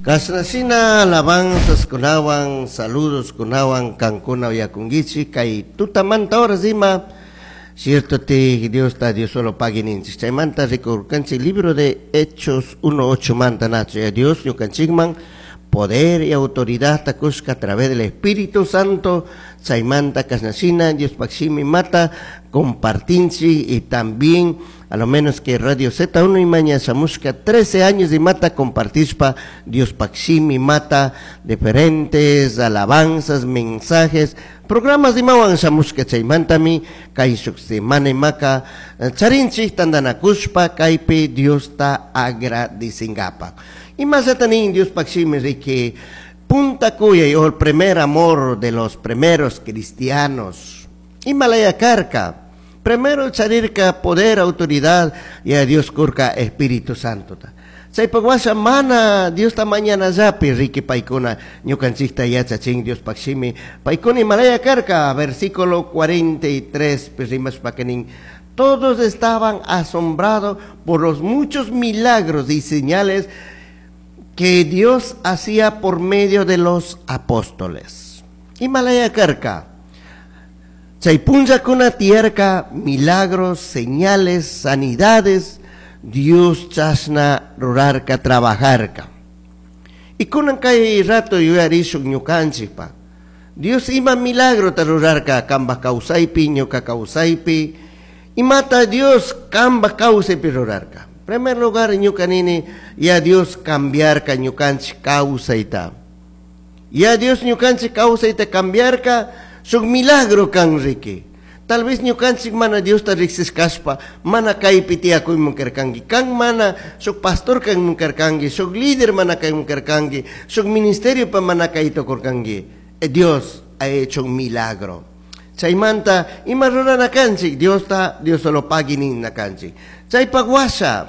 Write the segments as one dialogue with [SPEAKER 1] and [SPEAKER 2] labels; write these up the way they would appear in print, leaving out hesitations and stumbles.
[SPEAKER 1] Kashnashina alabanzas kunawan, saludos kunawan, kankuna uyakunkichik kay tutamanta horas ima cierto ti Dios ta Dios solo pagui ninchik. Chaymanta rikurkanchik libro de Hechos 1.8 manta nacho ya Dios ñukanchikman poder y autoridad ta kushka a través del Espíritu Santo. Chaymanta kashnashina Dios shimi mata compartinchik y también a lo menos que Radio Z1 y maña shamushka 13 años y mata compartishpa Dios shimi mata diferentes alabanzas, mensajes, programas imawan shamushka. Chaymantami kay shuk semana imaka charinchik tandanakushpa kaypi Diosta agradecingapa. Imallata nin Dios shimi riki punta kuyay o el primer amor de los primeros cristianos. Imalaya karka. Primero charirka poder, autoridad y a Dios kurka Espíritu Santo. Chaypak washa mana Diosta mañana llapi riki paykuna ñukanchikta yachachin Dios shimi paykuna imalaya karka. Versículo 43 rimashpaka nin: todos estaban asombrados por los muchos milagros y señales que Dios hacía por medio de los apóstoles. Imalaya karka. Chay punllakuna tiyarka milagros, señales, sanidades, Dios chashna rurarka, trabajarka. Y kunan kay rato yuyarishun ñukanchikpa. Dios ima milagro ta rurarka kamba kawsaypi, ñuka kawsaypi. Imata Dios kamba kawsaypi rurarka. Primer lugar ñuka nini, ya Dios cambiarka ñukanchik kawsayta. Ya Dios ñukanchik kawsayta cambiarka, shuk milagro kan riki. Tal vez ñukanchik mana Diosta riksishkashpa, mana kaypi tiyakuyman karkanki. Kan mana shuk pastor kanman karkanki, shuk líder mana kayman karkanki, shuk ministerio pa mana kayta kurkanki. Dios ha hecho un milagro. Chaymanta ima rurana kanchik, Diosta Dios solo pagui nina kanchik. Chaypak washa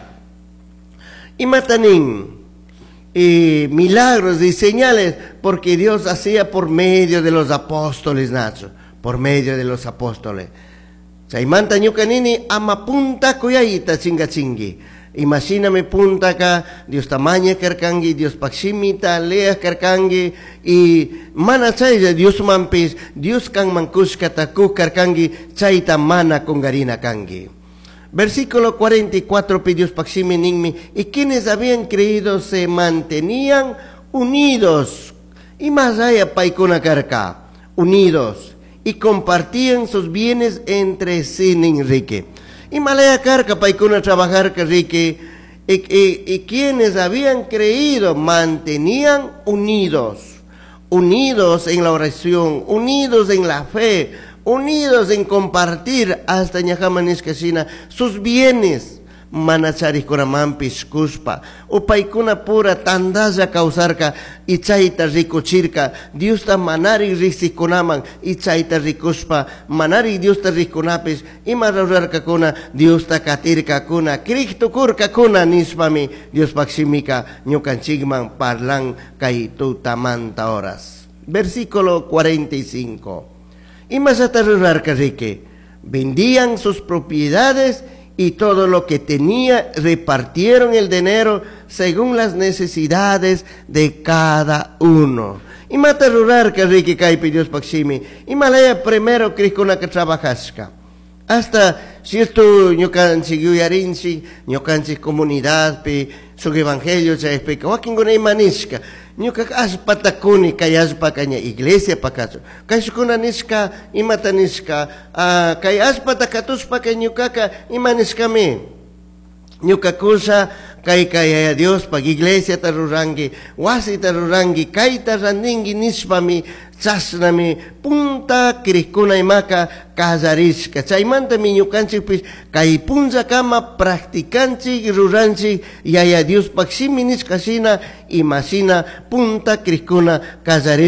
[SPEAKER 1] imata nin y milagros y señales, porque Dios hacía por medio de los apóstoles, Nacho, por medio de los apóstoles. Chaymanta ñuka nini ama punta kuyayta chingachingi. Imagíname punta ka Dios tamaña karkangi, Dios shimita leas karkangi y mana chaylla Dios mampis, Dios kan mankushkata kuk karkangi, chayta mana kungarina kangi. Versículo 44, Dios shimi ninmi, y quienes habían creído se mantenían unidos. Y más allá paykuna karka, unidos, y compartían sus bienes entre sí, riki. Y malaya karka paykuna trabajar riki, y quienes habían creído mantenían unidos, unidos en la oración, unidos en la fe, unidos en compartir hasta ñajamanishkashina sus bienes. Mana charikkunamanpish kushpa upaykuna pura tandalla kawsarka y chayta rikuchirka Diosta manari riksikunaman y chayta rikushpa manari Diosta rikunapish ima rurarkakuna Diosta katirkakuna krik tukurkakuna nishpami Diospaj shimika ñukanchikman parlan kay tutamanta horas. Versículo 45. Imallata rurarka riki, vendían sus propiedades y todo lo que tenía, repartieron el dinero según las necesidades de cada uno. Imata rurarka riki kaypi Diospaj shimi, imalaya primero krikkunaka trabajashka. Hasta cierto ñukanchik yuyarinchik, ñukanchik comunidadpi, shuk evangelio chaypika, wakinkuna ima nishka, ñukaka allpata kuni kay allpaka ña iglesia pakachu. Kayshukuna nishka, imata nishka, kay allpata katushpaka ñukaka ima nishkami. Ñuka kusha kay kay Yaya Diospaj iglesiata ruranki, wasita ruranki, kayta randinki nishpami, chashnami punta krikkuna imaka kallarishka. Chaymantami ñukanchikpish kay punllakama practicanchik, ruranchik Yaya Diospaj shimi nishka shina, imashina punta krikkuna kallarishka.